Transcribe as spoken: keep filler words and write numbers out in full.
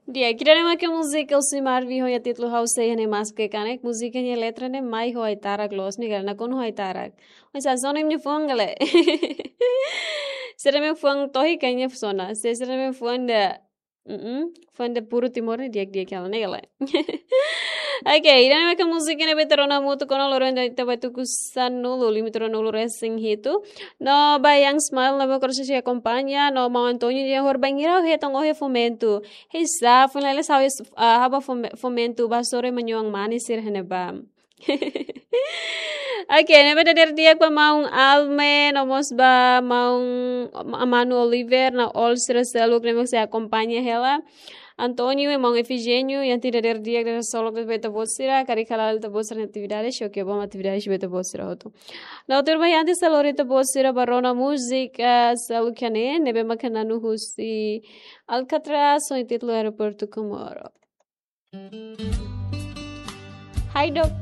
Di'ak, ida-ne'e mak múzika Elsie Marvi ho nia títulu Ha'u Sei Iha Ne'e Mas Ke Kanek. Múzika nia letra ne'e mai ho ai-tarak loos, ne'e ka lae, nakonu ho ai-tarak. Mas a zona minha fuan ka lae. Sira-ne'ebé fuan tohi kayaknya funciona. Se sira-ne'ebé fuan ida, mm, fuan ida puru Timor ne'e di'ak-di'ak hela, ne'e ka lae. Oke, ida-ne'e mak múzika ne'ebé ita rona hamutuk ona loron ida, ita bá tuku sanulu, limitu ruanulu-resin-hitu. No ba Young Smile ne'ebé korsesi akompaña, no maun António nia hor bainhira hetan ohe fomento. Hei sa, fun lele sa, ah, haba fome-, fomento ba sore manyoang manis sira-ne'ebá. Oke, ne'ebé dadeer di'ak ba maun Alme, no mós ba maun Amano Oliver, no all sira seluk ne'ebé sei akompaña hela. António, maun Efigênio, iha dadeer di'ak dadeer solok ba ita-boot sira, karik hala'o ita-boot sira-nia atividade, oke, bom atividade ba ita-boot sira hotu. No tuir ba iha antes de lori ita-boot sira bá rona múzika seluk iha ne'e, ne'ebé mak na'in-nulu husi Alcatraz, ho títulu Aeroportu Comoro. Hai dok,